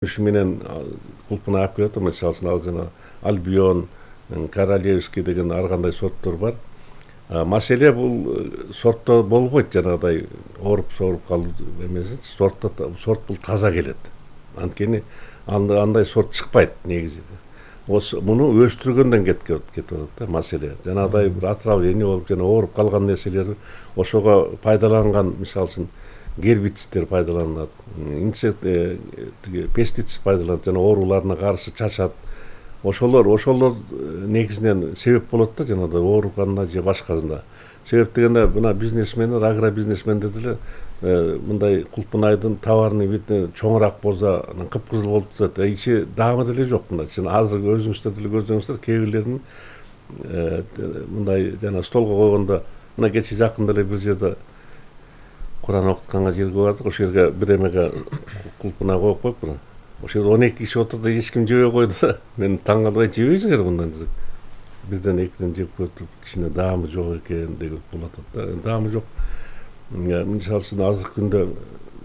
Ушу менен кулпуна алып келет, мисалы үчүн ал жана Альбион, Королевский деген ар кандай сорттор бар. Маселе бул сортто болбойт, жанагыдай ооруп калуу эмеси. Сорт бул таза келет. Анткени андай сорт чыкпайт негизи. Муну өстүргөндөн кетип атат да маселе. Жанагыдай бир отравление болуп, жана ооруп калган нерселер ошого пайдаланган, мисалы үчүн гербицидтер пайдаланат, пестицид пайдаланат, жана ооруларына каршы чачат. Ошолор негизинен себеп болот да, жанагыдай ооруганына же башкасына. Себеп дегенде мына бизнесмендер, агробизнесмендер деле мындай кулпунайдын товарный види чоңураак болсо, анан кыпкызыл болуп жатат. Ичи даамы деле жок мына. Азыр өзүңүздөр деле көрсөңүздөр, кээ бирлеринин мындай жана столго койгондо, мына кечээ жакында эле бир жерде Куран окутканга жерге бардык. Ошол жерге бир эмеге кулпунай коюп коюптур. Ошол жерде 12 киши отурду, эч ким жебей койду да. Мен таң калбай, жебейсиңер мындан дедик. Бирден экиден жеп көрүп, кичине даамы жок экен деп болот да. Даамы жок. Мисалы үчүн азыркы күндө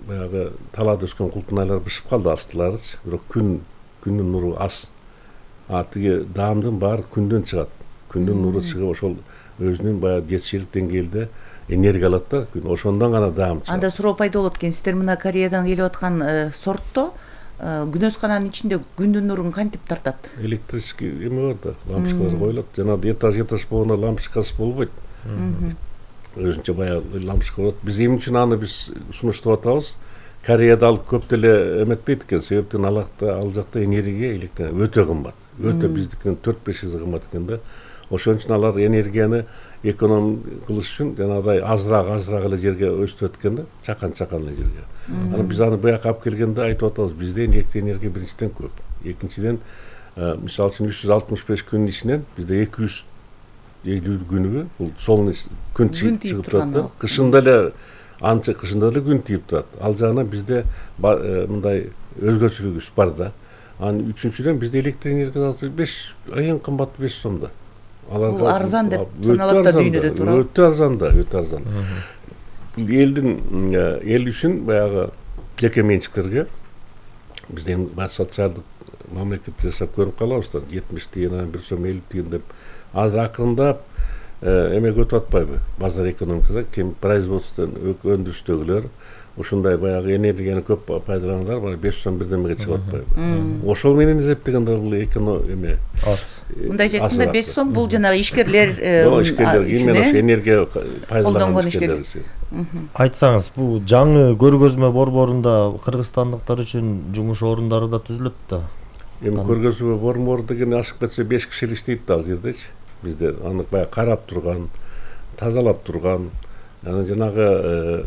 баягы талаада өскөн кулпунайлар бышып калды астыларычы. Бирок күндүн нуру аз. Тиги даамдын баары күндөн чыгат. Күндүн нуру чыгып, ошол өзүнүн баягы жетишилик деңгээлде энергия алат да, ошондон гана даам чыгат. Анда суроо пайда болот экен, сиздер мына Кореядан келип аткан сортто күнөскананын ичинде күндүн нурун кантип тартат? Электрический эме бар да, лампочкалар коюлат. Жана этаж болгондо лампочкасы болбойт. Өзүнчө баягы лампочка болот. Биз эмне үчүн аны сунуштап атабыз? Кореяда ал көп деле эметпейт экен. Себептен ал жакта энергия электр өтө кымбат. Өтө биздикинен 4-5 эсе кымбат экен да. Ошон үчүн алар энергияны эконом кылыш үчүн жанагыдай азыраак эле жерге өстүрөт экен да, чакан эле жерге. Анан биз аны буяка алып келгенде айтып атабыз, бизде электр энергия биринчиден көп. Экинчиден, мисалы үчүн 365 күнүн ичинен бизде 250 күнү бул солнечный күн чыгып турат да. Кышында эле күн тийип турат. Ал жагынан бизде мындай өзгөчөлүгүбүз бар да. Анан үчүнчүдөн бизде электр энергиясы эң кымбаты 5 сом да. Бул арзан деп саналат да дүйнөдө туурабы? Өтө арзан. Бул эл үчүн баягы жеке менчиктерге биз эми социалдык мамлекет жашап көрүп калабыз да, 70 тиын, 1 сом 50 тиын деп. Азыр акырындап эмеге өтүп атпайбы? Базар экономикада кем производстводон өндүрүштөгүлөр ушундай баягы энергияны көп пайдалангандар бара 5 сом бирдемеге чыгып атпайбы? Ошол менен эсептегенде бул эме мындай айтканда 5 сом бул жанагы ишкерлер именно ошо энергия пайдаланган ишкерлер. Айтсаңыз, бул жаңы көргөзмө борборунда кыргызстандыктар үчүн жумуш орундары да түзүлөт да. Эми көргөзмө борбору деген ашык кетсе 5 киши иштейт да ал жердечи. Бизде аны баягы карап турган, тазалап турган, анан жанагы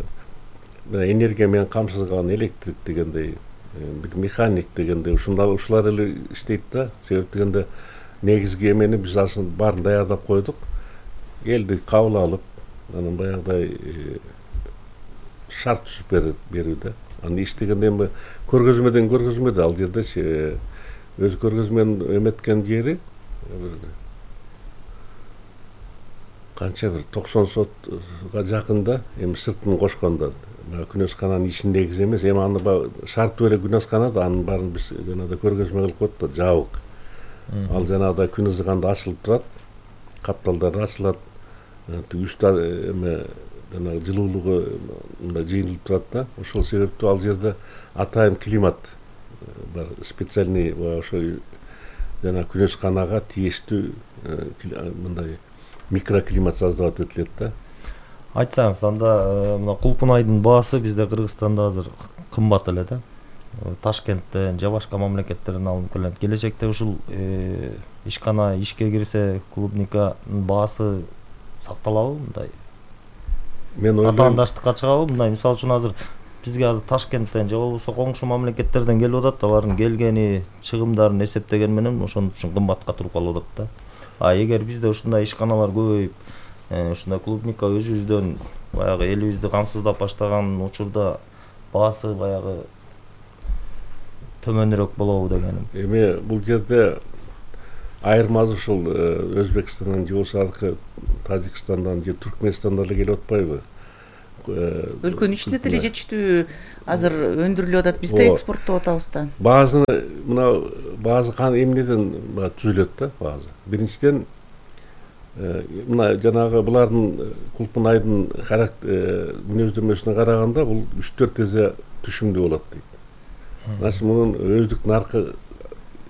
энергия менен камсыз кылган электрик дегендей, бир механик дегендей ушулар эле иштейт да. Себеп дегенде негизги эмени биз асын баарын даярдап койдук. Элди кабыл алып, анан баягыдай шарт түзүп берүүдө. Анан иштегенде эми көргөзмөдө ал жердечи өз көргөзмөнүн эметкен жери канча бир 90 сотка жакында, эми сыртын кошкондо күнөскананын ичиндеги эмес, эми аны шарттуу эле күнөскана да, анын баарын биз жанагыдай көргөзмө кылып коет да, жабык. Ал жанагыдай күн ызганда ачылып турат, капталдар ачылат, үстү эме жанагы жылуулугу мындай жыйылып турат да. Ошол себептүү ал жерде атайын климат бар, специальный ошо жана күнөсканага тийиштүү мындай микроклимат создавать этилет да. Айтсаңыз, анда мына кулпунайдын баасы бизде Кыргызстанда азыр кымбат эле да. Ташкенттен же башка мамлекеттерден алынып келет. Келечекте ушул ишкана ишке кирсе, клубниканын баасы сакталабы мындай? Мен ойлойм, атаандаштыкка чыгабы мындай? Мисалы үчүн азыр бизге азыр Ташкенттен же болбосо коңшу мамлекеттерден келип атат, алардын келгени, чыгымдарын эсептеген менен ошон үчүн кымбатка туруп калып атат да. Эгер бизде ушундай ишканалар көбөйүп, ушундай клубника өзүбүздөн баягы элибизди камсыздап баштаган учурда баасы баягы төмөнүрөөк болобу дегеним. Эми бул жерде айырмасы ушул Өзбекстандан же болбосо Тажикстандан же Түркменистандан эле келип атпайбы? өлкөнүн ичинде деле жетиштүү азыр өндүрүлүп атат, биз да экспорттоп атабыз да. Баазы мына баазы эмнеден түзүлөт да баазы. Биринчиден мына жанагы булардын кулпунайдын мүнөздөмөсүнө караганда бул 3-4 эсе түшүмдүү болот дейт. Значит, мунун өздүк наркы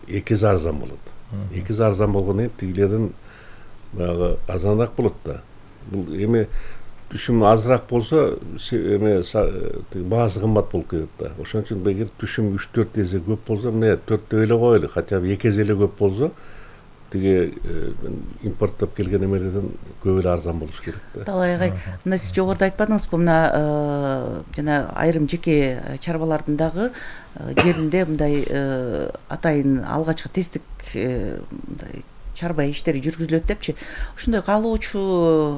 2 эсе арзан болот. 2 эсе арзан болгондон кийин тигилерден баягы арзаныраак болот да. Бул эми түшүм азыраак болсо баазы кымбат болуп кетет да. Ошон үчүн эгер түшүм 3-4 эсе көп болсо, мына 4 эле коелу, хотя бы 2 эсе эле көп болсо, тиги импорттоп келген эмелерден көп эле арзан болуш керек да. Талай агай, мына сиз жогоруда айтпадыңызбы, мына жана айрым жеке чарбалардын дагы жеринде мындай атайын алгачкы тесттик мындай чарба иштери жүргүзүлөт депчи. Ошондой каалоочу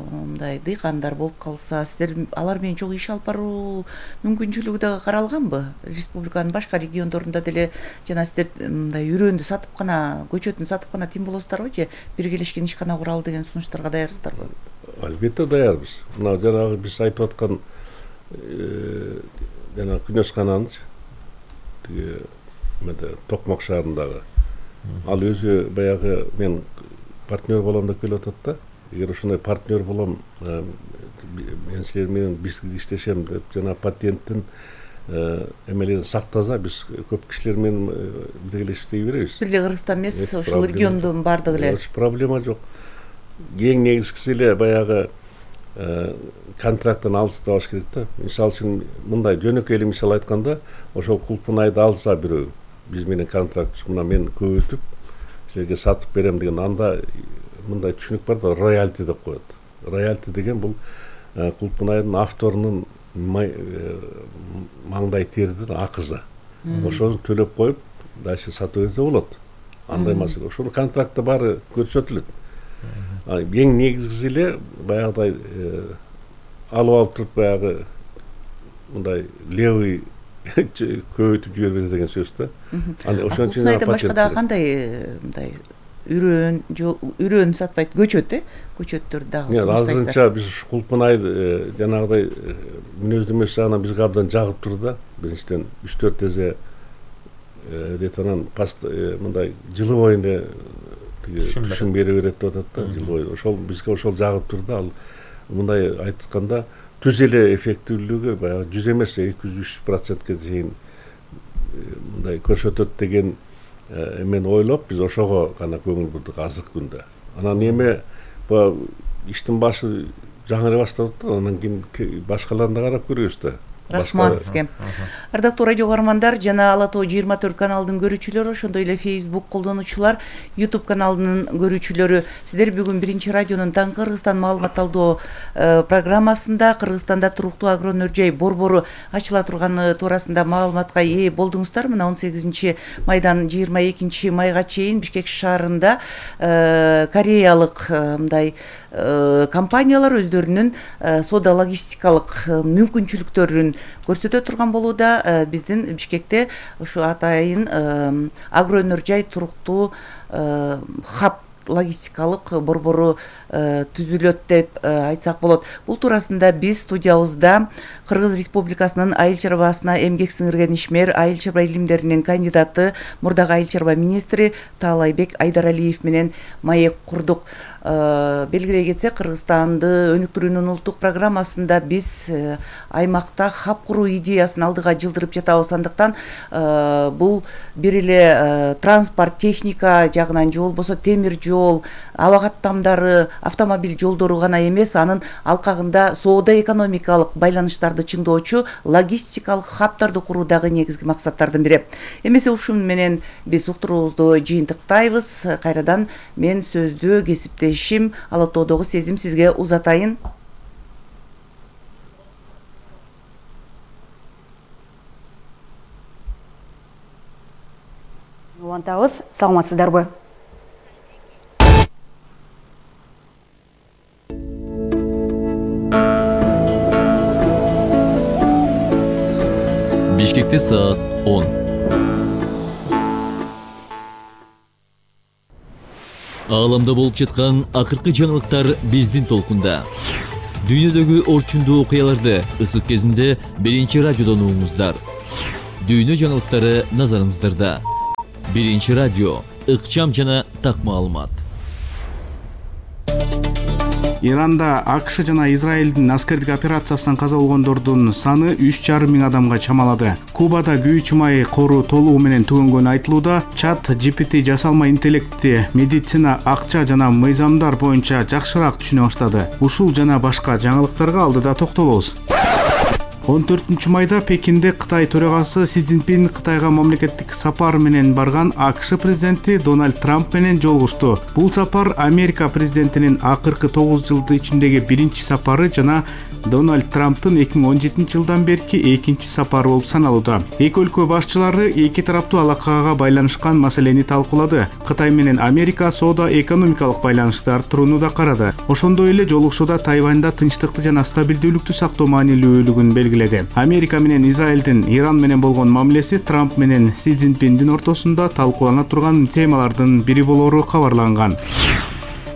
мындай дыйкандар болуп калса, сиздер алар менен чогуу иш алып баруу мүмкүнчүлүгү дагы каралганбы? Республиканын башка региондорунда деле жана сиздер мындай үрөндү сатып гана, көчөтүн сатып гана тим болосуздарбы же биргелешкен ишкана куралы деген сунуштарга даярсыздарбы? Албетте даярбыз. Мына жанагы биз айтып аткан жана күнөскананычы тиги Токмак шаарындагы ал өзү баягы мен партнер болом деп келип атат да. Эгер ошондой партнер болом, мен силер менен бирге иштешем деп жана патенттин эмелерин сактаса, биз көп кишилер менен биргелешип иштей беребиз. Бир эле Кыргызстан эмес, ушул региондун бардыгы эле. Проблема жок. Эң негизгиси эле баягы контракттан алыстабаш керек да. Мисалы үчүн мындай жөнөкөй эле мисал айтканда, ошол кулпунайды алса бирөө, биз менен контракт, мына мен көбөйтүп силерге сатып берем деген, анда мындай түшүнүк бар да, роялти деп коет. Роялти деген бул кулпунайдын авторунун маңдай теридин акызы. Ошону төлөп коюп, дальше сатып берсе болот. Андай маселе. Ошону контрактта баары көрсөтүлөт. Эң негизгиси эле баягыдай алып туруп баягы мындай левый көбөйтүп жибербес деген сөз да. Ошон үчүн башка дагы кандай мындай үрөн сатпайт, көчөт, көчөттөр дагы сунуштайсыздар? Азырынча биз кулпунайды жанагыдай мүнөздөмөсү жагынан бизге абдан жагып тур да. Биринчиден 3-4 эсе ретанан мындай жылы боюнда түшүм бере берет деп атат да, жыл бою. Ошол бизге ошол жагып тур да. Ал мындай айтканда түз эле эффективдүүлүгү баягы 100 эмес 200-300%ке чейин мындай көрсөтөт деген эмени ойлоп, биз ошого гана көңүл бурдук азыркы күндө. Анан эме иштин башы жаңырай баштап атат, анан кийин башкаларын да карап көрөбүз да. Рахмат сизге. Ардактуу радио угармандар жана Ала Тоо 24 каналынын көрүүчүлөрү, ошондой эле Facebook колдонуучулар, YouTube каналынын көрүүчүлөрү, сиздер бүгүн Биринчи радионун Таңкы Кыргызстан маалымат алуу программасында Кыргызстанда туруктуу агронөр-жай борбору ачыла турганы туурасында маалыматка ээ болдуңуздар. Мына 18 майдан 22 майга чейин Бишкек шаарында кореялык мындай компаниялар өздөрүнүн соода логистикалык мүмкүнчүлүктөрүн көрсөтө турган болууда. Биздин Бишкекте ушу атайын агроөнөр-жай туруктуу хаб логистикалык борбору түзүлөт деп айтсак болот. Бул туурасында биз студиябызда Кыргыз Республикасынын айыл чарбасына эмгек сиңирген ишмер, айыл чарба илимдеринин кандидаты, мурдагы айыл чарба министри Таалайбек Айдаралиев менен маек курдук. Белгилей кетсек, Кыргызстанды өнүктүрүүнүн улуттук программасында биз аймакта хаб куруу идеясын алдыга жылдырып жатабыз. Андыктан бул бир эле транспорт, техника жагынан же болбосо темир жол, аба каттамдары, автомобиль жолдору гана эмес, анын алкагында соода-экономикалык байланыштарды чыңдоочу логистикалык хабтарды куруу дагы негизги максаттардын бири. Эмесе ушун менен биз уктуруубузду жыйынтыктайбыз. Кайрадан мен сөздү кесиптешим Ала Тоодогу Сезим сизге узатайын. Улантабыз, саламатсыздарбы? Бишкекте саат 10. Ааламда болуп жаткан акыркы жаңылыктар биздин толкунда. Дүйнөдөгү орчундуу окуяларды ысык кезинде биринчи радиодон угуңуздар. Дүйнө жаңылыктары назарыңыздарда. Биринчи радио, ыкчам жана так маалымат. Иранда АКШ жана Израилдин аскердик операциясынан каза болгондордун саны 3,5 миң адамга чамалады. Кубада күйүүчү май кору толугу менен түгөнгөнү айтылууда. Чат GPT жасалма интеллекти медицина, акча жана мыйзамдар боюнча жакшыраак түшүнө баштады. Ушул жана башка жаңылыктарга алдыда токтолобуз. 14 майда Пекинде Кытай төрагасы Си Цзиньпин Кытайга мамлекеттик сапар менен барган АКШ президенти Дональд Трамп менен жолугушту. Бул сапар Америка президентинин акыркы 9 жылдын ичиндеги биринчи сапары жана Дональд Трамптын 2017 жылдан берки экинчи сапары болуп саналууда. Эки өлкө башчылары эки тараптуу алакага байланышкан маселени талкуулады. Кытай менен Америка соода-экономикалык байланышты арттырууну да карады. Ошондой эле жолугушууда Тайванда тынчтыкты жана стабилдүүлүктү сактоо маанилүүлүгүн белгиледи. Америка менен Израилдин Иран менен болгон мамилеси Трамп менен Си Цзиньпиндин ортосунда талкуулана турган темалардын бири болору кабарланган.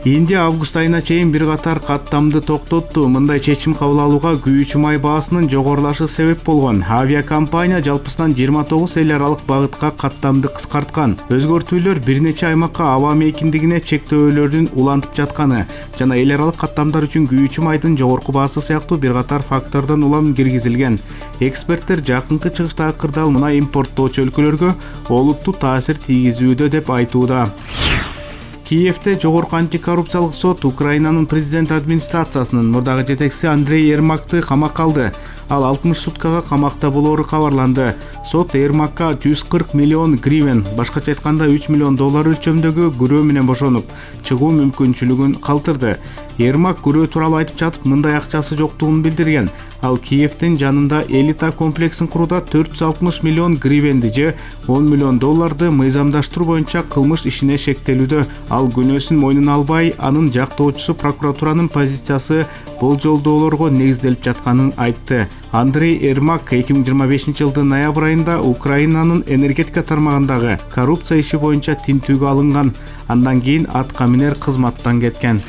Индия август айына чейин бир катар каттамды токтотту. Мындай чечим кабыл алууга күйүүчү май баасынын жогорулашы себеп болгон. Авиакомпания жалпысынан 29 эл аралык багытка каттамды кыскарткан. Өзгөртүүлөр бир нече аймакка аба мейкиндигине чектөөлөрдүн улантып жатканы жана эл аралык каттамдар үчүн күйүүчү майдын жогорку баасы сыяктуу бир катар фактордон улам киргизилген. Эксперттер жакынкы чыгыштагы кырдаал мунай импорттоочу өлкөлөргө олуттуу таасир тийгизүүдө деп айтууда. Киевде жогорку антикоррупциялык сот Украинанын президент администрациясынын мурдагы жетекчиси Андрей Ермакты камакка алды. Ал 60 суткага камакта болоору кабарланды. Сот Ермакка 140 миллион гривен, башкача айтканда 3 миллион доллар өлчөмдөгү күрөө менен бошонуп, чыгуу мүмкүнчүлүгүн калтырды. Ермак күрөө тууралуу айтып жатып, мындай акчасы жоктугун билдирген. Ал Киевдин жанында элита комплексин курууда 460 миллион гривенди же 10 миллион долларды мыйзамдаштыруу боюнча кылмыш ишине шектелүүдө. Ал күнөөсүн мойнуна албай, анын жактоочусу прокуратуранын позициясы болжолдоолорго негизделип жатканын айтты. Андрей Ермак 2025 жылдын ноябрь айында Украинанын энергетика тармагындагы коррупция иши боюнча тинтүүгө алынган. Андан кийин атка минер кызматтан кеткен.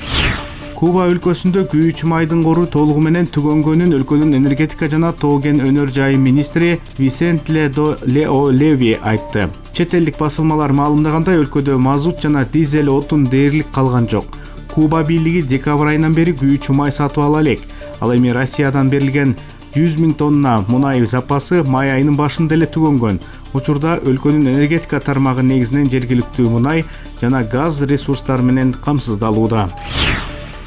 Куба өлкөсүндө күйүүчү майдын кору толугу менен түгөнгөнүн өлкөнүн энергетика жана тоо кен өнөр жайы министри Висенте Лео Леви айтты. Чет элдик басылмалар маалымдагандай, өлкөдө мазут жана дизель отун дээрлик калган жок. Куба бийлиги декабрь айынан бери күйүүчү май сатып ала элек. Ал эми Россиядан берилген 100 000 тонна мунай запасы май айынын башында эле түгөнгөн. Учурда өлкөнүн энергетика тармагы негизинен жергиликтүү мунай жана газ ресурстары менен камсыздалууда.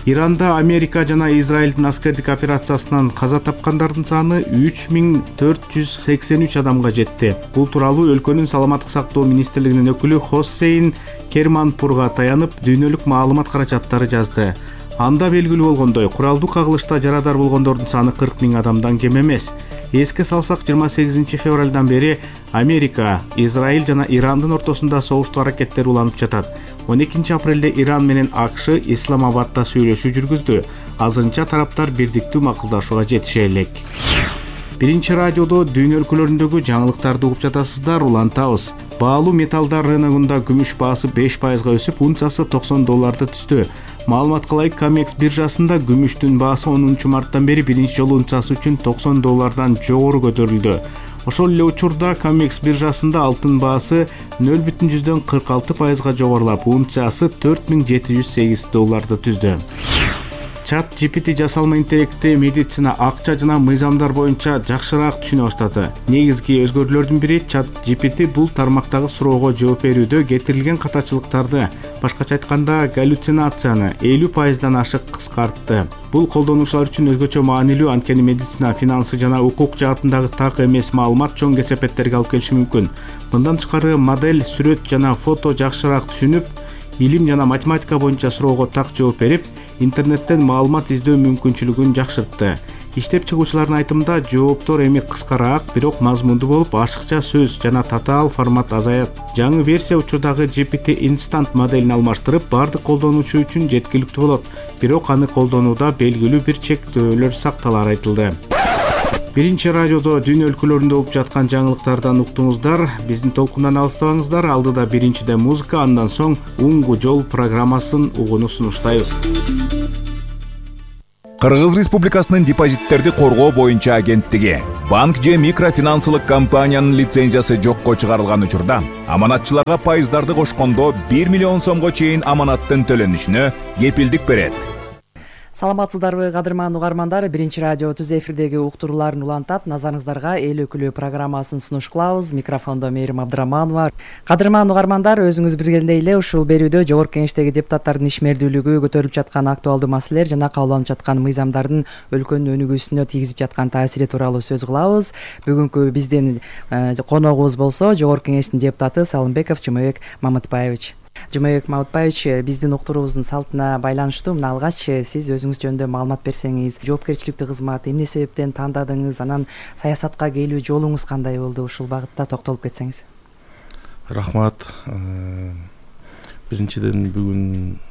Иранда Америка жана Израилдин аскердик операциясынан каза тапкандардын саны 3483 адамга жетти. Бул тууралуу өлкөнүн саламаттык сактоо министрлигинин өкүлү Хоссейн Керманпурга таянып, дүйнөлүк маалымат каражаттары жазды. Анда белгилүү болгондой, куралдуу кагылышта жарадар болгондордун саны 40 000 адамдан кем эмес. Эске салсак, 28 февралдан бери Америка, Израиль жана Ирандын ортосунда согуштуу аракеттер уланып жатат. 12 апрелде Иран менен АКШ Исламабадда сүйлөшүү жүргүздү. Азырынча тараптар бирдиктүү макулдашууга жетише элек. Биринчи радиодо дүйнө өлкөлөрүндөгү жаңылыктарды угуп жатасыздар, улантабыз. Баалуу металлдар рыногунда күмүш баасы 5% өсүп, унциясы $90 түздү. Маалыматка ылайык, Камекс биржасында күмүштүн баасы 10 марттан бери биринчи жолу унциясы үчүн $90 жогору көтөрүлдү. Ошол эле учурда Камекс биржасында алтын баасы 0,46% жогорулап, унциясы $4708 түздү. Чат GPT жасалма интеллекти медицина, акча жана мыйзамдар боюнча жакшыраак түшүнө баштады. Негизги өзгөрүүлөрдүн бири Чат GPT бул тармактагы суроого жооп берүүдө кетирилген катачылыктарды, башкача айтканда галлюцинацияны 50%дан ашык кыскартты. Бул колдонуучулар үчүн өзгөчө маанилүү, анткени медицина, финансы жана укук жаатындагы так эмес маалымат чоң кесепеттерге алып келиши мүмкүн. Мындан тышкары, модель сүрөт жана фото жакшыраак түшүнүп, илим жана математика боюнча суроого так жооп берип, интернеттен маалымат издөө мүмкүнчүлүгүн жакшыртты. Иштеп чыгуучулардын айтымында, жооптор эми кыскараак, бирок мазмундуу болуп, ашыкча сөз жана татаал формат азаят. Жаңы версия учурдагы GPT Instant моделин алмаштырып, бардык колдонуучу үчүн жеткиликтүү болот, бирок аны колдонууда белгилүү бир чектөөлөр сакталары айтылды. Биринчи радиодо дүйнө өлкөлөрүндө болуп жаткан жаңылыктардан уктуңуздар. Биздин толкундан алыстабаңыздар. Алдыда биринчиде музыка, андан соң Уңгу жол программасын угууну сунуштайбыз. Кыргыз Республикасынын депозиттерди коргоо боюнча агенттиги банк же микрофинансылык компаниянын лицензиясы жокко чыгарылган учурда аманатчыларга пайыздарды кошкондо 1 миллион сомго чейин аманаттын төлөнүшүнө кепилдик берет. Саламатсыздарбы, кадырман угармандар, Биринчи радио түз эфирдеги уктурууларын улантат. Назарыңыздарга эл өкүлү программасын сунуш кылабыз. Микрофондо Мээрим Абдыраманова. Кадырман угармандар, өзүңүз билгендей эле ушул берүүдө Жогорку Кеңештеги депутаттардын ишмердүүлүгү, көтөрүлүп жаткан актуалдуу маселелер жана кабыл алынып жаткан мыйзамдардын өлкөнүн өнүгүүсүнө тийгизип жаткан таасири тууралуу сөз кылабыз. Бүгүнкү биздин коногубуз болсо Жогорку Кеңештин депутаты Салымбеков Жумабек Мамытбаевич. Жумабек Мамытбаевич, биздин уктуруубуздун салтына байланыштуу мына алгач сиз өзүңүз жөнүндө маалымат берсеңиз, жоопкерчиликтүү кызмат эмне себептен тандадыңыз, анан саясатка келүү жолуңуз кандай болду, ушул багытта токтолуп кетсеңиз. Рахмат. Биринчиден бүгүн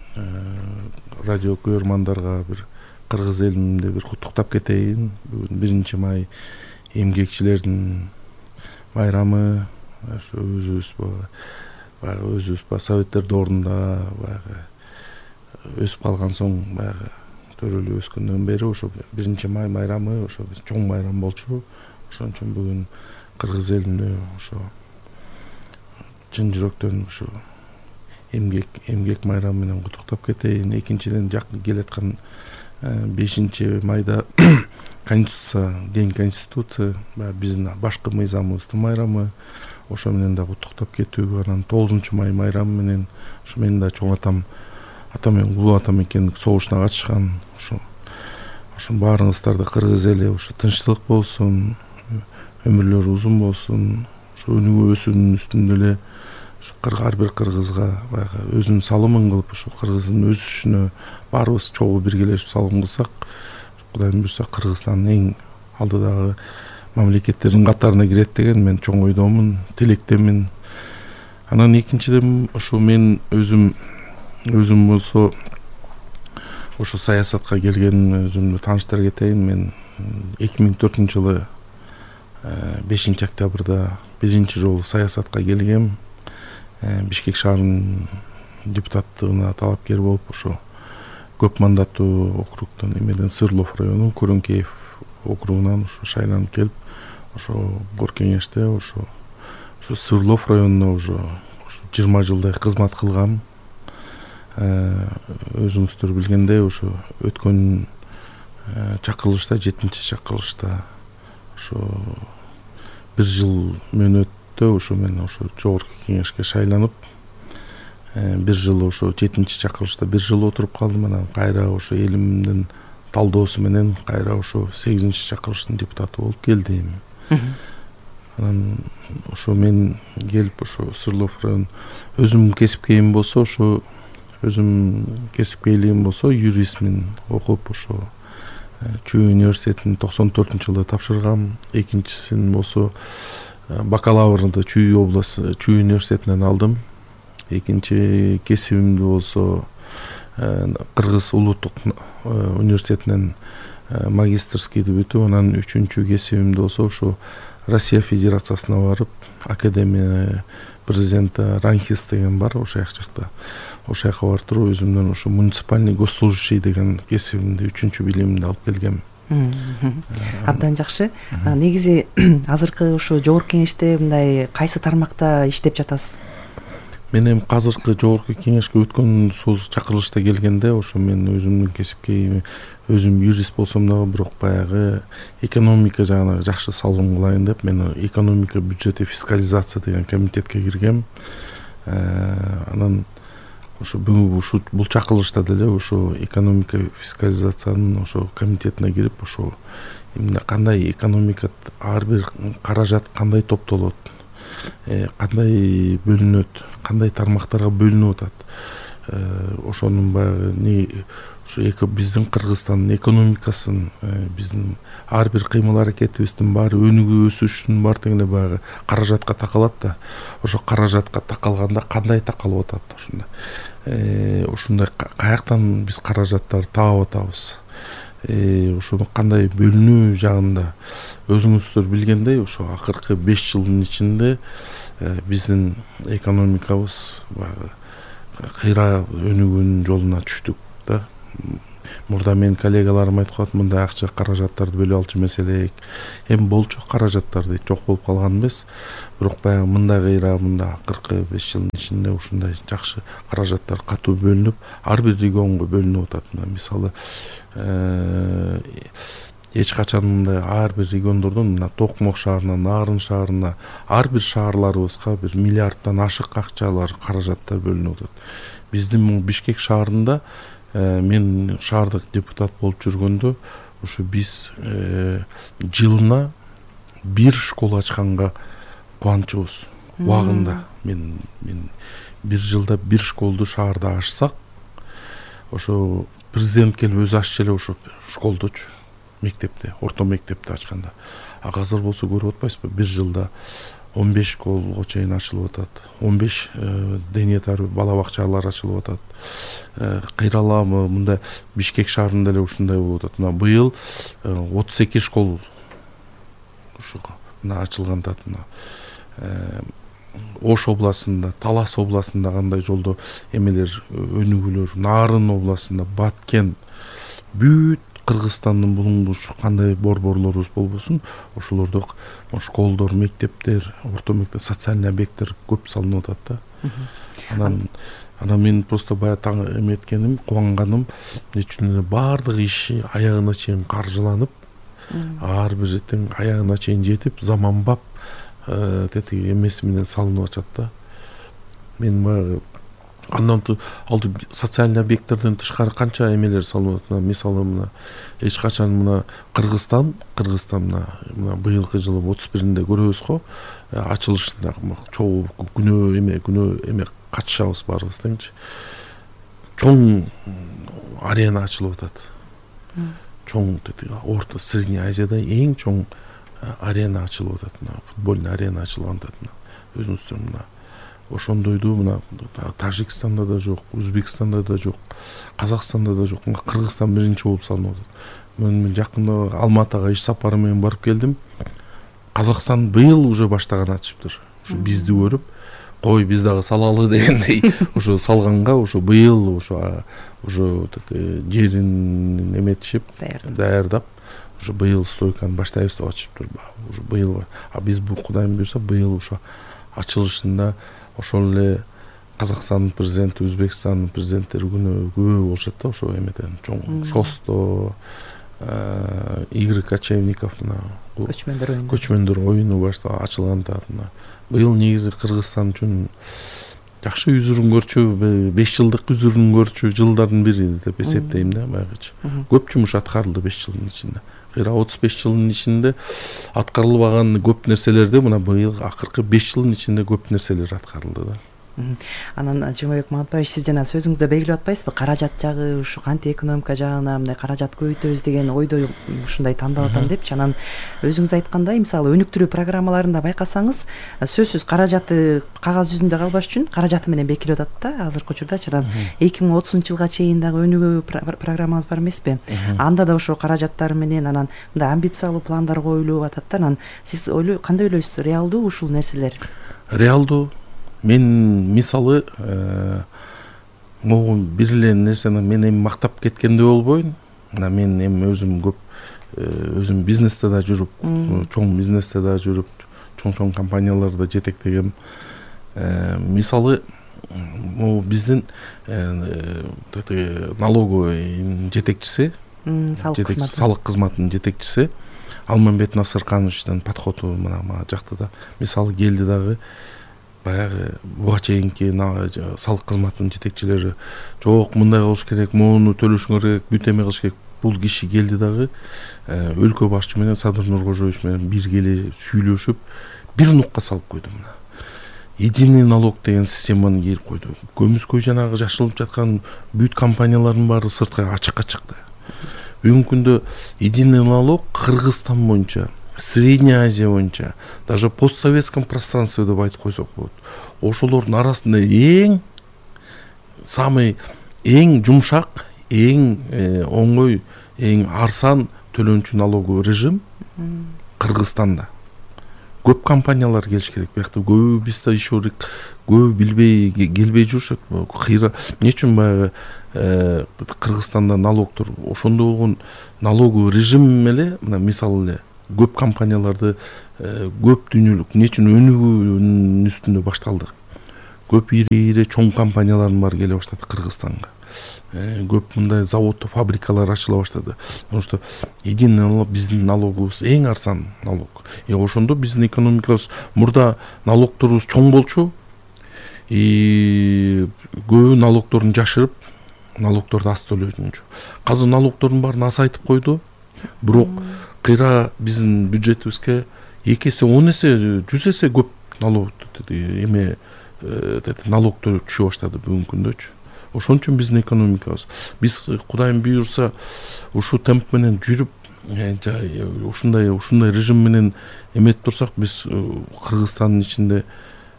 радио көрөрмандарга бир кыргыз элимде бир куттуктап кетейин. Бүгүн 1 май эмгекчилердин майрамы. Ошо өзүбүз советтерди ордунда өсүп калган соң төрөлүп өскөндөн бери ошо 1 май майрамы ошо чоң майрам болчу. Ошон үчүн бүгүн кыргыз элинде ошо чын жүрөктөн ошо эмгек майрамы менен куттуктап кетейин. Экинчиден жакын келаткан 5 майда Конституция, День Конституции, биздин башкы мыйзамыбыздын майрамы. Ошо менен да куттуктап кетүү. Анан 9 май майрамы менен ошо менин да чоң атам менен улуу атам экендик согушуна катышкан. Ошо баарыңыздарды кыргыз эли ошо тынчтык болсун, өмүрлөрү узун болсун. Ошо өнүгүү өсүүнүн үстүндө эле ар бир кыргызга өзүнүн салымын кылып, ошо кыргыздын өсүшүнө баарыбыз чогуу биргелешип салым кылсак, Кудайым буйрса Кыргызстандын эң алдыдагы мамлекеттердин катарына кирет деген мен чоң ойдомун, тилектемин. Анан экинчиден ошо мен өзүм болсо ошо саясатка келген өзүмдү тааныштыра кетейин. Мен 2004-жылы 5 октябрда биринчи жолу саясатка келгем. Бишкек шаарынын депутаттыгына талапкер болуп ошо көп мандаттуу округтон эмеден Сырлов району Көрөнкеев округунан ошо шайланып келип, ошо Бор кеңеште ошо Сырлов районуна ошо 20 жылдай кызмат кылгам. Өзүңүздөр билгендей ошо өткөн чакырылышта 7-чакырылышта ошо 1 жыл мөөнөттө ошо мен ошо Жогорку Кеңешке шайланып, 1 жыл ошо 7-чакырылышта 1 жыл отуруп калдым. Анан кайра ошо элимдин талдоосу менен кайра ошо 8-чакырылыштын депутаты болуп келдим. Анан ошо мен келип ошо Сырлов район өзүм кесипкейим болсо ошо юристмин окуп ошо Чүй университетин 94-жылы тапшыргам. Экинчисин болсо бакалаврды Чүй университетинен алдым. Экинчи кесибимди болсо Кыргыз улуттук университетинен магистрскийди бүтүп, анан 3-чү кесибимди болсо ошо Россия Федерациясына барып, Академия президенти Ранхис деген бар ошол жакта. Ошол жака барып туруп өзүмдөн ошо муниципальный госслужащий деген кесибимди 3-чү билимимди алып келгем. Абдан жакшы. Негизи азыркы ошо Жогорку Кеңеште мындай кайсы тармакта иштеп жатасыз? Мен эми азыркы Жогорку Кеңешке өткөн чакырылышта келгенде ошо мен өзүмдүн кесипкейим, өзүм юрист болсом дагы бирок баягы экономика жагына жакшы салым кылайын деп мен экономика, бюджет и фискализация деген комитетке киргем. Анан ошо бул чакырылышта деле ошо экономика, фискализациянын ошо комитетине кирип, ошо эмне кандай экономика ар бир каражат кандай топтолот, кандай бөлүнөт, кандай тармактарга бөлүнүп атат. Ошонун баягы ошо биздин Кыргызстандын экономикасын, биздин ар бир кыймыл аракетибиздин баары өнүгүү өсүшүнүн баары тең эле баягы каражатка такалат да. Ошо каражатка такалганда кандай такалып атат ошондой каяктан биз каражаттарды таап атабыз. Ошону кандай бөлүнүү жагында өзүңүздөр билгендей ошо акыркы 5 жылдын ичинде биздин экономикабыз баягы кыйра өнүгүүнүн жолуна түштүк да. мурда менин коллегаларым айтып калат, мындай акча каражаттарды бөлүп алчу маселе. Эми болчу каражаттарды жок болуп калган эмес. Бирок баягы мындай кыйра, мында 45 жылдын ичинде ушундай жакшы каражаттар катуу бөлүнүп, ар бир регионго бөлүнүп атат. Мисалы, эч качан мындай ар бир региондордон, мына Токмок шаарына, Нарын шаарына, ар бир шаарларыбызга бир миллиарддан ашык акчалар, каражаттар бөлүнүп атат. Биздин Бишкек шаарында мен шаардык депутат болуп жүргөндө ушу биз жылына бир школа ачканга кубанычыбыз. Убагында мен бир жылда бир школду шаарда ачсак, ошо президент келип өзү аччу эле ошо школдучу, мектепте, орто мектепти ачканда. А азыр болсо көрүп атпайсызбы, бир жылда 15 школго чейин ачылып атат, 15 дене тарбия бала бакчалар ачылып атат. Кыйраламы мында Бишкек шаарында эле ушундай болуп атат. Мына быйыл 32 школ ушу мына ачылган атат. Ош областында, Талас областында кандай жолдо эмелер, өнүгүүлөр, Нарын областында, Баткен, бүт Кыргызстандын булунгуч кандай борборлорубуз болбосун, ошолордо школдор, мектептер, орто мектеп, социальный объекттер көп салынып атат да. Анан мен просто бая таң эметкеним, кубанганым, үчүн эле баардык иши аягына чейин каржыланып, ар бир жертен аягына чейин жетип, заманбап тетиги эмеси менен салынып атат да. Мен баягы андан алды социальный объекттерден тышкары канча эмелер салынып атат. Мисалы мына эч качан мына Кыргызстан мына быйылкы жылы 31-inde көрөбүз го, ачылышында чогуу күнөө эме катышабыз баарыбыз деңчи. Чоң арена ачылып атат. Чоң орто Средний Азияда эң чоң арена ачылып атат. Футбольный арена ачылган атат. Өзүңүздөр мына ошондойду мына Тажикстанда да жок, Өзбекстанда да жок, Казакстанда да жок. Кыргызстан биринчи болуп салынып атат. Мен жакында Алматыга иш сапары менен барып келдим. Казакстан быйыл уже баштаган ачыптыр. Ушу бизди көрүп, кой биз дагы салалы дегендей ошо салганга, ошо быйыл ошо жерин эметишип, даярдап, ошо быйыл стройканы баштайбыз деп атышыптыр. Уже быйыл, а биз бу Кудайым буйрса быйыл ошо ачылышында ошол эле Казакстандын президенти, Өзбекстандын президенттери күнөө көп болушат да, ошо эмеден чоң Шосто, Игорь Кочевников мына көчмөндөр оюну башта ачылган да. Быйыл негизи Кыргызстан үчүн жакшы үзүрүн көрчү, 5 жылдык үзүрүн көрчү жылдардын бири деп эсептейм да байгычы. Көп жумуш аткарылды 5 жылдын ичинде. Кыйра 35 жылдын ичинде аткарылбаган көп нерселерди мына быйыл акыркы 5 жылдын ичинде көп нерселер аткарылды да. Анан Жумабек Маматбаевич, сиз жана сөзүңүздө белгилеп атпайсызбы, каражат жагы ушу канти экономика жагына мындай каражат көбөйтөбүз деген ойдо ушундай тандап атам депчи. Анан өзүңүз айткандай, мисалы өнүктүрүү программаларында байкасаңыз, сөзсүз каражаты кагаз жүзүндө калбаш үчүн каражаты менен бекилип атат да азыркы учурдачы. Анан 2030-жылга чейин дагы өнүгүү программаңыз бар эмеспи? Анда да ошо каражаттар менен анан мындай амбициялуу пландар коюлуп атат да. Анан сиз кандай ойлойсуз, реалдуу ушул нерселер? Реалдуу. Мен мисалы могу бир эле нерсени мен эми мактап кеткенде болбойн. Мен эми өзүм көп өзүм бизнесте да жүрүп, чоң бизнесте да жүрүп, чоң компанияларда жетектегем. Мисалы могу биздин налоговый жетекчиси, салык кызматынын жетекчиси Алмамбет Насыркановичтин подходу мына жакта да мисалы келди дагы. Баягы буга чейинки салык кызматынын жетекчилери жок, мындай болуш керек, моуну төлөшүңөр керек, бүт эме кылыш керек. Бул киши келди дагы өлкө башчы менен Садыр Нуркожоевич менен биргеле сүйлөшүп бир нукка салып койду. Мына единый налог деген системаны кийип койду. Көмүскөй жанагы жашылып жаткан бүт компаниялардын баары сыртка ачыкка чыкты. Бүгүнкү күндө единый налог Кыргызстан боюнча, Средняя Азия боюнча, даже постсоветском пространстве деп айтып койсок болот. Ошолордун арасында эң жумшак, эң оңой, эң арзан төлөнчү налоговый режим Кыргызстанда. Көп компаниялар келиш керек. Биякта көбү бизде еще көбү билбей келбей жүрүшөт. Кыйра эмне үчүн баягы Кыргызстанда налогдор ошондой болгон налоговый режим эле мына мисалы эле көп компанияларды көп дүйнөлүк эмне үчүн өнүгүүнүн үстүндө башталдык. Көп ири чоң компаниялардын баары келе баштады Кыргызстанга. Көп мындай завод, фабрикалар ачыла баштады. Потому что единый налог биздин налогубуз эң арзан налог. Ошондо биздин экономикабыз мурда налогторубуз чоң болчу. Көбү налогторун жашырып, налогторду аз төлөчү. Азыр налогтордун баарын азайтып койду. Бирок кыйра биздин бюджетибизге 2 эсе, 10 эсе, 100 эсе көп налог налогтор түшө баштады бүгүнкү күндөчү. Ошон үчүн биздин экономикабыз биз Кудайым буйрса ушул темп менен жүрүп, ушундай режим менен эметип турсак, биз Кыргызстандын ичинде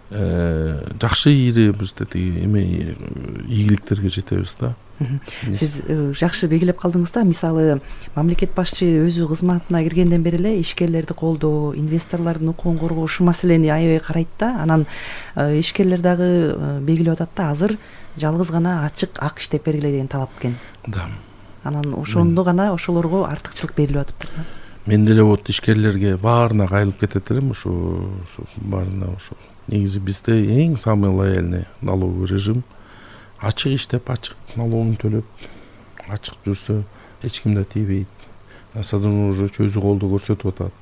жакшы ийгиликтерге жетебиз да. Сиз жакшы белгилеп калдыңыз да. Мисалы, мамлекет башчы өзү кызматына киргенден бери эле ишкерлерди колдоо, инвесторлордун укугун коргоо ушул маселени аябай карайт да. Анан ишкерлер дагы белгилеп атат да, азыр жалгыз гана ачык ак иштеп бергиле деген талап экен. Да. Анан ошондо гана ошолорго артыкчылык берилип атыптыр да. Мен деле вот ишкерлерге баарына кайрылып кетет элем, ушу баарына ушу. Негизи бизде эң самый лояльный налоговый режим. Ачык иштеп, ачык налогун төлөп, ачык жүрсө эч ким да тийбейт. Садын уже өзү колдоо көрсөтүп атат.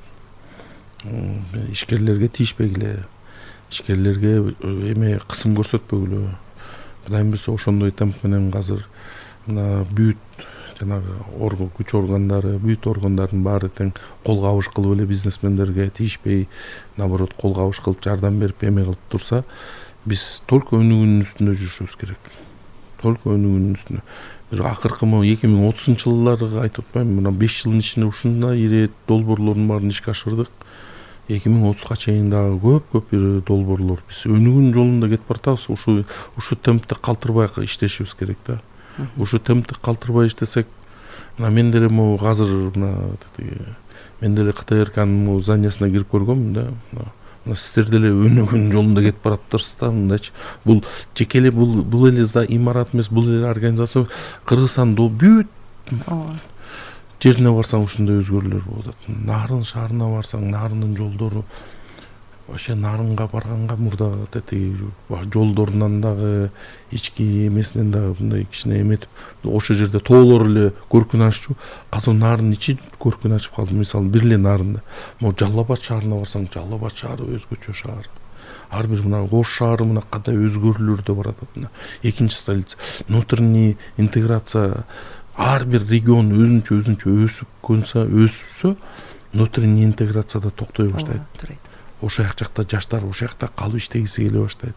Ишкерлерге тийишпегиле, ишкерлерге кысым көрсөтпөгүлө. Кудайым буйрса ошондой темп менен азыр мына бүт жанагы күч органдары, бүт органдардын баары тең кол кабыш кылып эле бизнесмендерге тийишпей, наоборот кол кабыш кылып жардам берип кылып турса, биз только өнүгүүнүн үстүндө жүрүшүбүз керек. Только өнүгүүнүн үстүндө. Бир акыркы 2030-жылдары айтып атпаймынбы, мына 5 жылдын ичинде ушундай ири долбоорлордун баарын ишке ашырдык. 2030га чейин дагы көп ири долбоорлор. Биз өнүгүүнүн жолунда кетип баратабыз. Ушу темпте калтырбай иштешибиз керек да. Ушу темпте калтырбай иштесек, мына мен деле азыр мен деле КТРКнын зданиясына кирип көргөмүн да. Сиздер деле өнүгүүнүн жолунда кетип баратыптырсыз да, мындайчы. Бул жеке эле бул эле имарат эмес, бул эле организация Кыргызстандын бүт жерине барсаң ушундай өзгөрүүлөр болуп атат. Нарын шаарына барсаң, Нарындын жолдору вообще Нарынга барганга мурда жолдорунан дагы ички эмесинен дагы мындай кичине эметип, ошол жерде тоолор эле көркүн аччу. Азыр Нарын ичи көркүн ачып калды. Мисалы, бир эле Нарында. Жалал Абад шаарына барсаң, Жалал Абад шаары өзгөчө шаар. Ар бир мына Ош шаары мына кандай өзгөрүүлөрдө баратат. Экинчи столица. Внутренний интеграция, ар бир регион өзүнчө өссө, внутренний интеграцияда токтой баштайт. Ошол жакта жаштар ошол жакта калып иштегиси келе баштайт.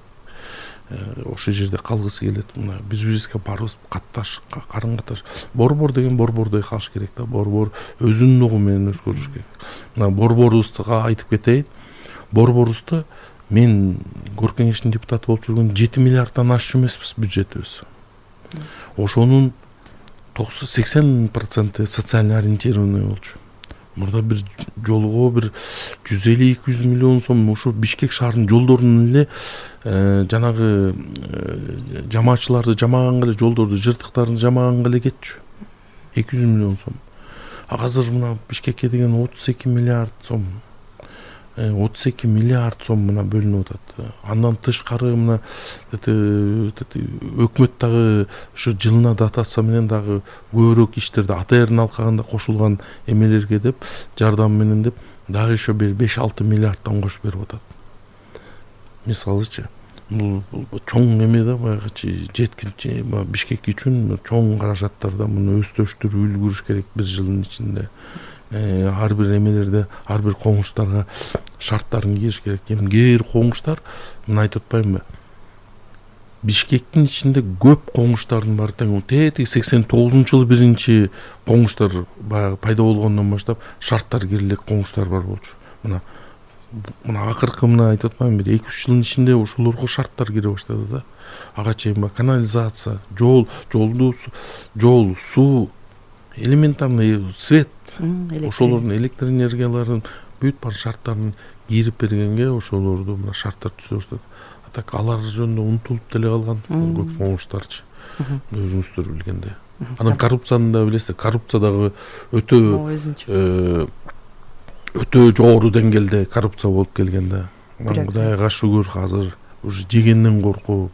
Ошол жерде калгысы келет. Мына бизге барыбыз катташ, карым-катташ. Борбор деген борбордой калыш керек да. Борбор өзүнүн угу менен өзгөрүш керек. Мына борборубузду айтып кетейин. Борборубузду мен Горком кеңештин депутаты болуп жүргөн 7 миллиарддан ашчу эмеспиз бюджетибиз. Ошонун 80% социально ориентированный болчу. Мурда бир жолго бир 150-200 миллион сом ушу Бишкек шаарынын жолдорунун эле жанагы жамаатчыларды жамаганга эле, жолдорду жыртыктарын жамаганга эле кетчү. 200 миллион сом. Азыр мына Бишкекке деген 32 миллиард сом. 32 миллиард сом мына бөлүнүп атат. Андан тышкары мына өкмөт дагы ушу жылына дотация менен дагы көбүрөөк иштерди АТР алкагында кошулган эмелерге деп, жардам менен деп дагы еще 5-6 миллиарддан кошуп берип атат. Мисалычы, бул чоң эме да, баягычы жеткинчи Бишкек үчүн чоң каражаттарда муну өстөштүрүп үлгүрүш керек бир жылдын ичинде. Ар бир эмелерде, ар бир коңуштарга шарттарын кийиш керек. Кээ бир коңуштар, мына айтып атпаймынбы? Бишкектин ичинде көп коңуштардын баары тең 89-жылы биринчи коңуштар пайда болгондон баштап шарттар кирилек коңуштар бар болчу. Мына акыркы мына айтып атпаймынбы? 2-3 жылдын ичинде ошолорго шарттар кире баштады да. Ага чейин канализация, жол, суу, элементарный свет, ошолордун электр энергияларын бүт бар шарттарын кирип бергенге ошолорду мына шарттар түзө баштады. так алар жөнүндө унутулуп деле калган көп момуштарчы өзүңүздөр билгендей. Анан коррупцияны да билесиз, коррупция дагы өтө жогору деңгээлде коррупция болуп келген да. Кудайга шүгүр азыр уже жегенден коркуп,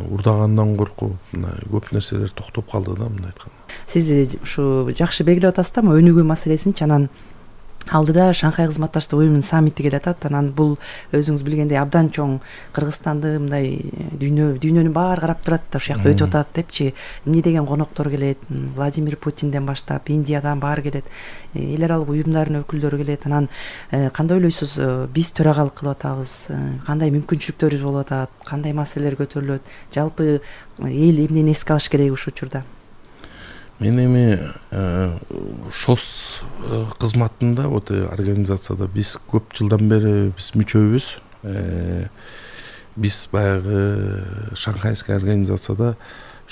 урдагандан коркуп, көп нерселер токтоп калды да, мындай айтканда. Сиз ушу жакшы белгилеп атасыз да, өнүгүү маселесинчи. Анан алдыда Шанхай кызматташтык уюмунун саммити келе атат. Анан бул өзүңүз билгендей абдан чоң, Кыргызстанды мындай дүйнөнүн баары карап турат да, ушул жакта өтүп атат депчи. Эмне деген коноктор келет, Владимир Путинден баштап, Индиядан баары келет, эл аралык уюмдардын өкүлдөрү келет. Анан кандай ойлойсуз, биз төрагалык кылып атабыз, кандай мүмкүнчүлүктөрүбүз болуп атат, кандай маселелер көтөрүлөт, жалпы эл эмнени эске алыш керек ушул учурда? Мен эми ШОС кызматында, вот организацияда биз көп жылдан бери биз мүчөбүз. Биз баягы Шанхайский организацияда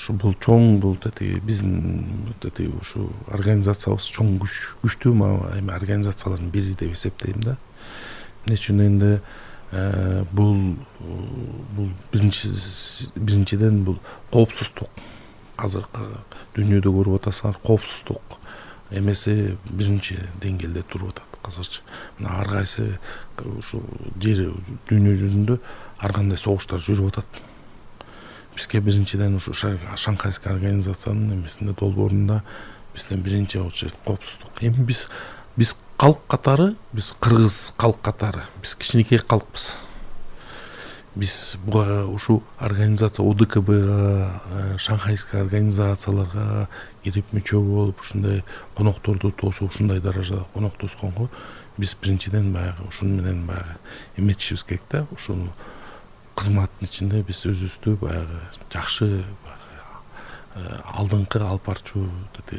бул чоң, бул биздин ушу организациябыз чоң күчтүү эми организациялардын бири деп эсептейм да. Эмне үчүн энди бул биринчиден бул коопсуздук. Азыркы дүйнөдө көрүп атасыңар, коопсуздук эмеси биринчи деңгээлде туруп атат азырчы. Мына ар кайсы ушу жер дүйнө жүзүндө ар кандай согуштар жүрүп атат. Бизге биринчиден ушу Шанхайский организациянын эмесинде долбоорунда бизден биринчи коопсуздук. Эми биз калк катары, биз кыргыз калк катары, биз кичинекей калкпыз. Биз буга ушу организация ОДКБга, Шанхайский организацияларга кирип мүчө болуп, ушундай конокторду тосуп, ушундай даражада конок тосконго биз биринчиден баягы ушун менен баягы эметишибиз керек да. Ушул кызматтын ичинде биз өзүбүздү баягы жакшы алдыңкы алып барчу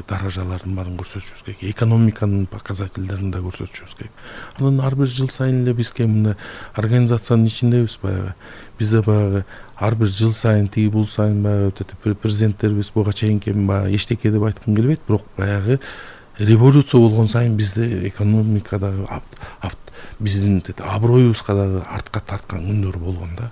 даражалардын баарын көрсөтүшүбүз керек. Экономиканын показательдерин да көрсөтүшүбүз керек. Анан ар бир жыл сайын эле бизге мындай организациянын ичиндебиз баягы. Бизде баягы ар бир жыл сайын тиги бул сайын баягы президенттерибиз буга чейинки баягы эчтеке деп айткым келбейт, бирок баягы революция болгон сайын бизде экономикадагы биздин аброюбузга дагы артка тарткан күндөр болгон да.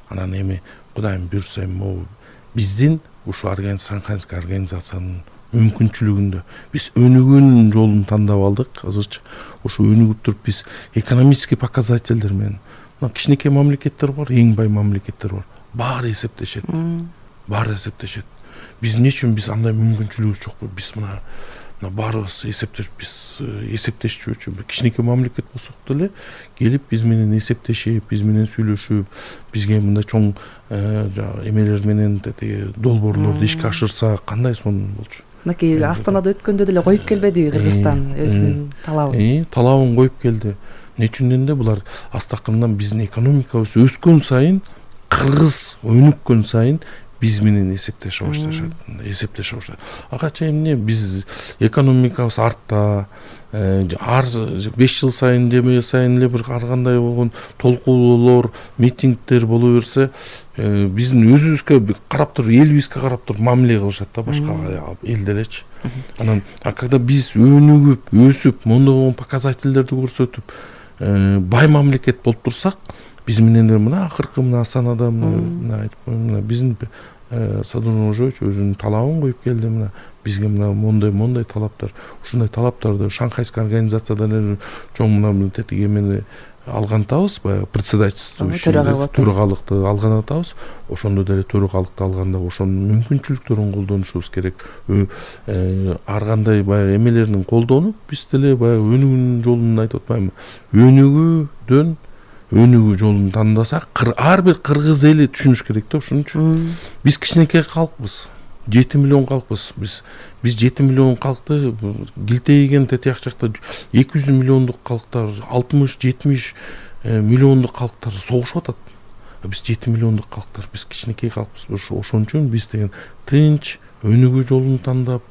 Анан эми Кудайым буйрса могу биздин ушу Шанхайский организациянын мүмкүнчүлүгүндө биз өнүгүүнүн жолун тандап алдык азырчы. Ушу өнүгүп туруп биз экономический показательдер менен, кичинекей мамлекеттер бар, эң бай мамлекеттер бар, баары эсептешет. Биз эмне үчүн биз андай мүмкүнчүлүгүбүз жокпу? Биз мына баарыбыз эсептешчү кичинекей мамлекет болсок деле келип биз менен эсептешип, биз менен сүйлөшүп, бизге мындай чоң эмелер менен долбоорлорду ишке ашырса кандай сонун болчу. Мынакей Астанада өткөндө деле коюп келбеди Кыргызстан өзүнүн талабын. Талабын коюп келди. Эмне үчүн дегенде булар астакырындан биздин экономикабыз өскөн сайын, кыргыз өнүккөн сайын биз менен эсептеше башташат. Ага чейин эмне биз экономикабыз артта, ар 5 жыл сайын же сайын эле бир ар кандай болгон толкуулоолор, митингдер боло берсе, биздин өзүбүзгө карап туруп, элибизге карап туруп мамиле кылышат да башка эл делечи. Анан когда биз өнүгүп, өсүп, мондой показательдерди көрсөтүп, бай мамлекет болуп турсак, биз менен мына акыркы мына Астанада мына айтып коеюн, биздин Садыр Ожоевич өзүнүн талабын коюп келди. Мына бизге мына мондой талаптар, ушундай талаптарды Шанхайский организациядан чоң мына тетиги эмени алган атабыз, баягы председательство төрагалыкты алган атабыз. Ошондо деле төрагалыкты алганда ошонун мүмкүнчүлүктөрүн колдонушубуз керек. Ар кандай баягы эмелерин колдонуп, биз деле баягы өнүгүүнүн жолун айтып атпаймынбы? Өнүгүү жолун тандасак, ар бир кыргыз эли түшүнүш керек да ушунчу. Биз кичинекей калкпыз. 7 миллион калкпыз. Биз 7 миллион калкты килтейген тетияк жакта 200 миллиондук калктар, 60-70 миллиондук калктар согушуп атат. Биз 7 миллиондук калктар, биз кичинекей калкпыз. Ошон үчүн биз деген тынч өнүгүү жолун тандап,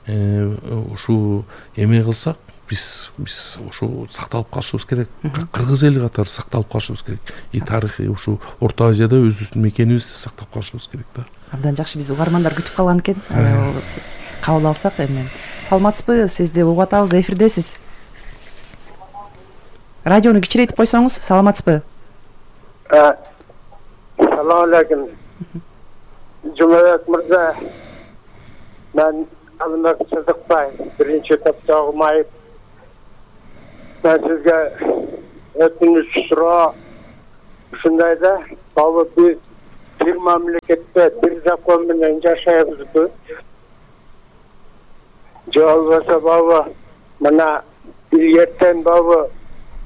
ушу эме кылсак, биз ушу сакталып калышыбыз керек. Кыргыз эли катары сакталып калышыбыз керек. Тарыхый ушу Орто Азияда өзүбүздүн мекенибизди сактап калышыбыз керек да. Абдан жакшы, биз угармандар күтүп калган экен. Кабыл алсак эми. Саламатсызбы? Сизди угуп атабыз, эфирдесиз. Радиону кичирейтип койсоңуз, саламатсызбы? Assalamu alaikum. Cumhuriyet Mırza, ben Almak Sıdıkbay, birinci taptağım ayıp. Ben sizge ötünüş sıra şundayda, baba bir memlekette bir zakon bilen yaşayabızdı. Cevabı baba, bana ilyetten baba,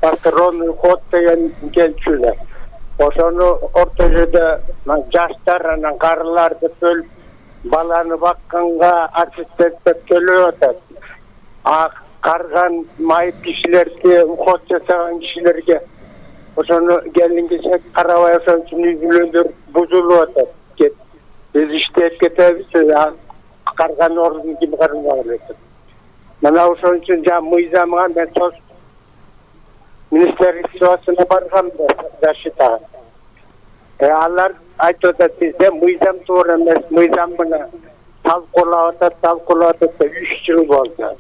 patronun koddayan gelçüler. Oşonu ortajada jaşlar anan karılarda bölüp balаны bakkanga ассистенттеп төлөп атат. Карган майып кишилерге, уход жасаган кишилерге ошону келинге карабай ошон үчүн үй-бүлөлөр бузулуп атат. Биз иштеп кетебиз, карган ордун ким кармаган экен. Мына ошон үчүн мыйзамга мен министрликке баргам защитага. Алар айтып атат, бизде мыйзам туура эмес, мыйзам мына талкуулап атат 3 жыл болду.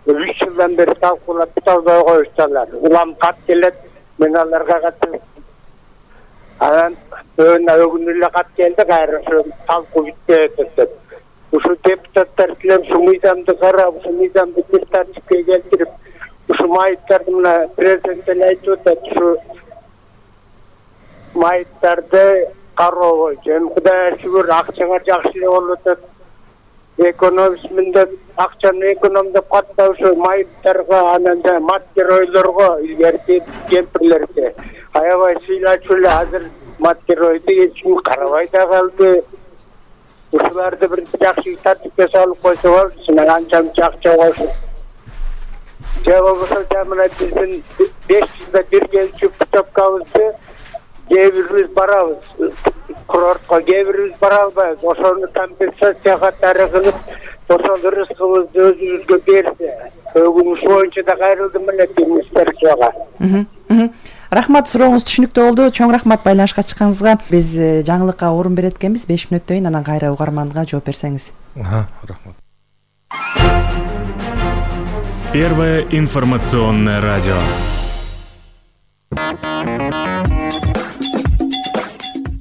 3 жылдан бери талкуулап албай коюшталар. Улам кат келет, мен аларга катып анан өгүн эле кат келди, кайра ошо талкуу бүтпөйт деп. Ушу депутаттар билем ушу мыйзамды карап, ушу мыйзамды бир тартипке келтирип, ушу майыптарды мына президент эле айтып атат, ушу майыптарды кароо боюнча Кудайга шүгүр акчаңар жакшы эле болуп атат. Экономисминде акчаны экономдоп катта ушу майыптарга, анан мат геройлорго, илгерки кемпирлерге аябай сыйлачу эле. Азыр мат геройду эч ким карабай да калды. Ушуларды бир жакшы тартипке салып койсо болчу, анча акча болсун. Же болбосо мына биздин 5 жылда бир келчү путевкабызды кээ бирибиз барабыз, курортко кээ бирибиз бара албайбыз. Ошону компенсация катары кылып, ошол рызкыбызды өзүбүзгө берсе, өгүнүш боюнча да кайрылдым эле министрликке. Рахмат, сурооңуз түшүнүктүү болду. Чоң рахмат байланышка чыкканыңызга. Биз жаңылыкка орун берет экенбиз. 5 мүнөттөн кийин анан кайра угарманга жооп берсеңиз. Рахмат. Первое информационное радио.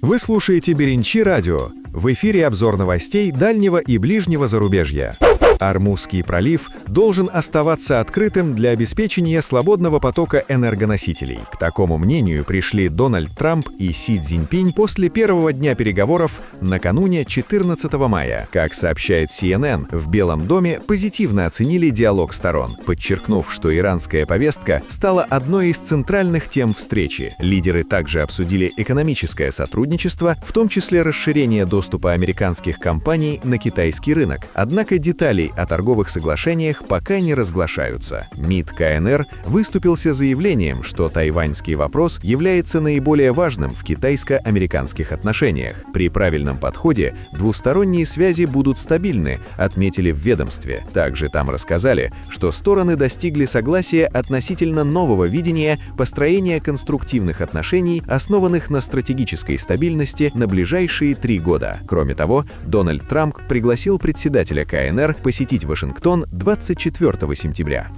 Вы слушаете Беренчи радио. В эфире обзор новостей дальнего и ближнего зарубежья. Ормузский пролив должен оставаться открытым для обеспечения свободного потока энергоносителей. К такому мнению пришли Дональд Трамп и Си Цзиньпинь после первого дня переговоров накануне 14 мая. Как сообщает CNN, в Белом доме позитивно оценили диалог сторон, подчеркнув, что иранская повестка стала одной из центральных тем встречи. Лидеры также обсудили экономическое сотрудничество, в том числе расширение доступа американских компаний на китайский рынок. Однако детали о торговых соглашениях пока не разглашаются. МИД КНР выступился с заявлением, что тайваньский вопрос является наиболее важным в китайско-американских отношениях. При правильном подходе двусторонние связи будут стабильны, отметили в ведомстве. Также там рассказали, что стороны достигли согласия относительно нового видения построения конструктивных отношений, основанных на стратегической стабильности на ближайшие 3 года. Кроме того, Дональд Трамп пригласил председателя КНР посетить Вашингтон 24 сентября.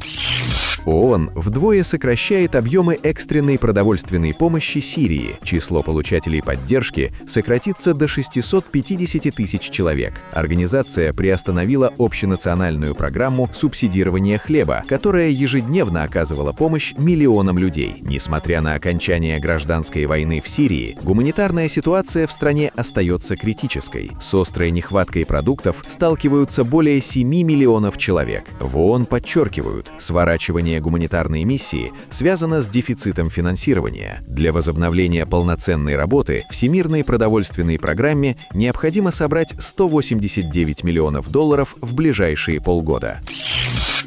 ООН вдвое сокращает объемы экстренной продовольственной помощи Сирии. Число получателей поддержки сократится до 650 тысяч человек. Организация приостановила общенациональную программу субсидирования хлеба, которая ежедневно оказывала помощь миллионам людей. Несмотря на окончание гражданской войны в Сирии, гуманитарная ситуация в стране остается критической. С острой нехваткой продуктов сталкиваются более 7 миллионов человек. В ООН подчеркивают, сворачивание гуманитарной миссии связано с дефицитом финансирования. Для возобновления полноценной работы Всемирной продовольственной программе необходимо собрать $189 миллионов в ближайшие полгода.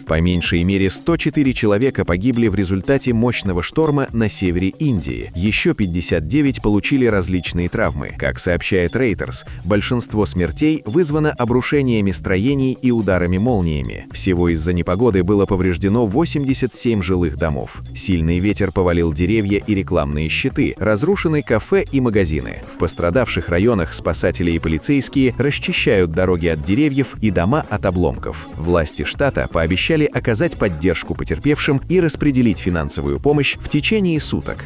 По меньшей мере 104 человека погибли в результате мощного шторма на севере Индии. Еще 59 получили различные травмы. Как сообщает Reuters, большинство смертей вызвано обрушениями строений и ударами молниями. Всего из-за непогоды было повреждено 87 жилых домов. Сильный ветер повалил деревья и рекламные щиты, разрушены кафе и магазины. В пострадавших районах спасатели и полицейские расчищают дороги от деревьев и дома от обломков. Власти штата пообещали оказать поддержку потерпевшим и распределить финансовую помощь в течение суток.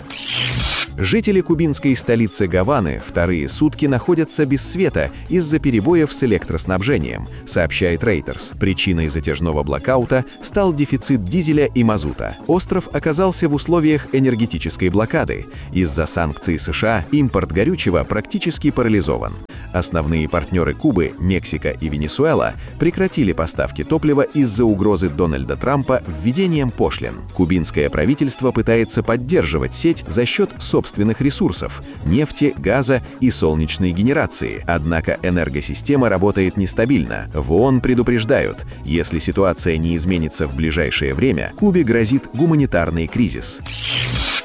Жители кубинской столицы Гаваны вторые сутки находятся без света из-за перебоев с электроснабжением, сообщает Reuters. Причиной затяжного блокаута стал дефицит дизеля и мазута. Остров оказался в условиях энергетической блокады. Из-за санкций США импорт горючего практически парализован. Основные партнеры Кубы, Мексика и Венесуэла, прекратили поставки топлива из-за угрозы Дональда Трампа введением пошлин. Кубинское правительство пытается поддерживать сеть за счет собственных ресурсов – нефти, газа и солнечной генерации. Однако энергосистема работает нестабильно. В ООН предупреждают, если ситуация не изменится в ближайшее время, Кубе грозит гуманитарный кризис.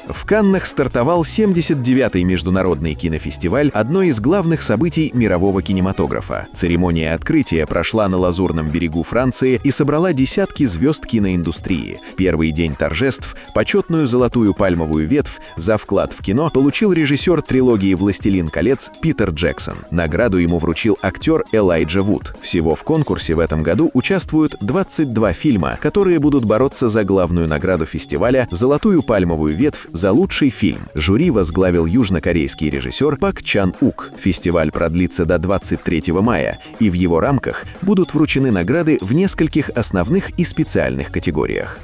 В Каннах стартовал 79-й международный кинофестиваль, одно из главных событий мирового кинематографа. Церемония открытия прошла на Лазурном берегу Франции и собрала десятки звезд киноиндустрии. В первый день торжеств почетную золотую пальмовую ветвь за вклад в кино получил режиссер трилогии «Властелин колец» Питер Джексон. Награду ему вручил актер Элайджа Вуд. Всего в конкурсе в этом году участвуют 22 фильма, которые будут бороться за главную награду фестиваля «Золотую пальмовую ветвь» за лучший фильм. Жюри возглавил южнокорейский режиссер Пак Чан Ук. Фестиваль продлится до 23 мая, и в его рамках будут вручены награды в нескольких основных и специальных категориях.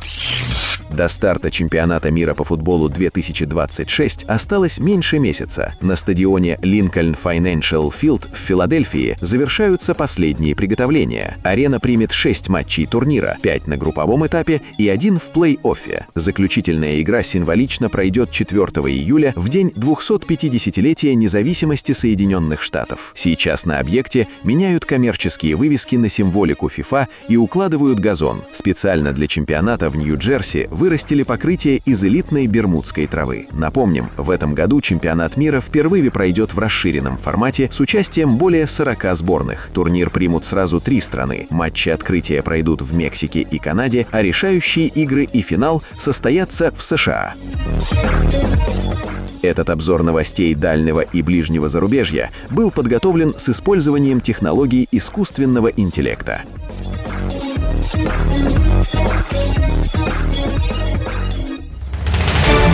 До старта чемпионата мира по футболу 2026 осталось меньше месяца. На стадионе Lincoln Financial Field в Филадельфии завершаются последние приготовления. Арена примет 6 матчей турнира, 5 на групповом этапе и 1 в плей-оффе. Заключительная игра символично пройдет 4 июля в день 250-летия независимости Соединенных Штатов. Сейчас на объекте меняют коммерческие вывески на символику FIFA и укладывают газон. Специально для чемпионата в Нью-Джерси вырастили покрытие из элитной бермудской травы. Напомним, в этом году чемпионат мира впервые пройдет в расширенном формате с участием более 40 сборных. Турнир примут сразу 3 страны. Матчи открытия пройдут в Мексике и Канаде, а решающие игры и финал состоятся в США. Этот обзор новостей дальнего и ближнего зарубежья был подготовлен с использованием технологий искусственного интеллекта.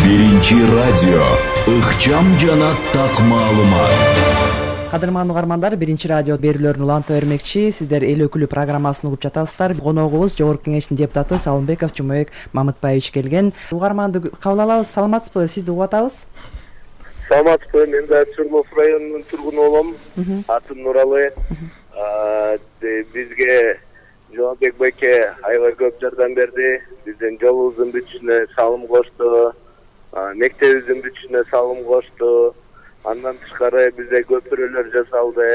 Биринчи радио ыкчам жана так маалымат. Кадырман угармандар, Биринчи радио берүүлөрүн уланта бермекчи. Сиздер эл өкүлү программасын угуп жатасыздар. Коногубуз Жогорку Кеңештин депутаты Салымбеков Жумабек Мамытбаевич келген. Угарманды кабыл алабыз. Саламатсызбы? Сизди угуп атабыз. Саламатсызбы? Мен да Чурмов районунун тургуну болом. Атым Нуралы. Бизге Жомабек байке аябай көп жардам берди. Биздин жолубуздун бүтүшүнө салым кошту. Мектебибиздин бүтүшүнө салым кошту. Андан тышкары бизде көпүрөлөр жасалды.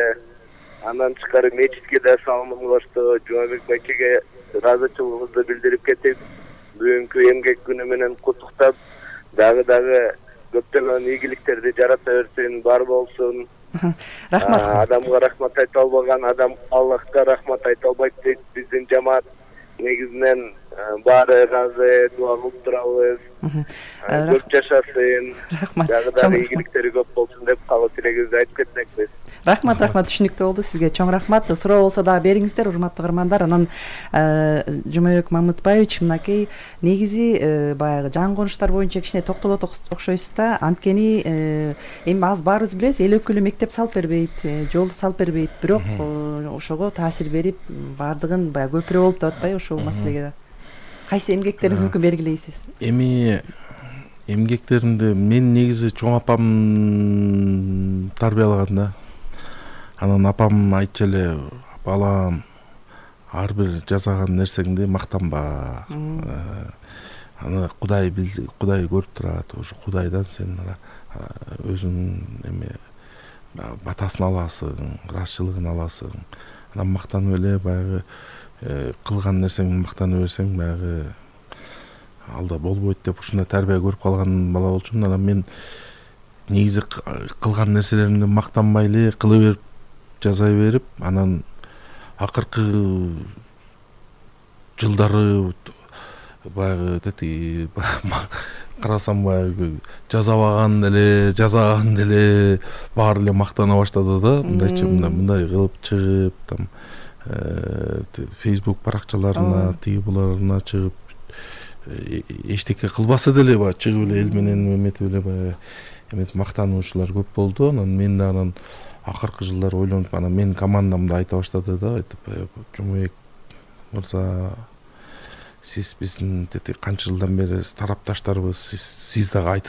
Андан тышкары мечитке да салым кошту. Жомабек байкеге ыраазычылыгыбызды билдирип кетип, бүгүнкү эмгек күнү менен куттуктап, дагы көптөгөн ийгиликтерди жарата берсин, бар болсун. Рахмат. Адамга рахмат айта албаган адам Аллахка рахмат айта албайт дейт биздин жамаат. Негизинен баары ыраазы, дуа кылып турабыз. Көп жашасын. Рахмат. Дагы ийгиликтери көп болсун деп каалоо тилегибизди айтып кетмекпиз. Рахмат, түшүнүктүү болду. Сизге чоң рахмат. Суроо болсо дагы бериңиздер, урматтуу угармандар. Анан Жумабек Мамытбаевич, мынакей негизи баягы жан конуштар боюнча кичине токтолот окшойсуз да. Анткени эми аз баарыбыз билебиз, эл өкүлү мектеп салып бербейт, жол салып бербейт, бирок ошого таасир берип, баардыгын баягы көпүрө болуп деп атпайбы ушул маселеге да? Кайсы эмгектериңиз мүмкүн белгилейсиз? Эми эмгектеримди мен негизи чоң апам тарбиялаган да. Анан апам айтчу эле, балам, ар бир жасаган нерсеңди мактанба. Аны Кудай билди, Кудай көрүп турат. Ошо Кудайдан сен өзүңүн эме батасын аласың, ыраазычылыгын аласың. Анан мактанып эле баягы кылган нерсеңди мактана берсең, баягы алда болбойт деп ушундай тарбия көрүп калган бала болчумун. Анан мен негизи кылган нерселеримди мактанбай эле кыла берип, жазай берип, анан акыркы жылдары баягы карасам баягы жазабаган деле баары эле мактана баштады да. Мындай кылып чыгып, там Facebook баракчаларына, тиги буларына чыгып эчтеке кылбаса деле баягы чыгып эле эл менен эметип эле баягы эметип мактануучулар көп болду. Анан мен да анан акыркы жылдары ойлонуп анан менин командам да айта баштады да, айтып Жумабек мырза, сиз биздин канча жылдан бери тарапташтарбыз, сиз дагы айтып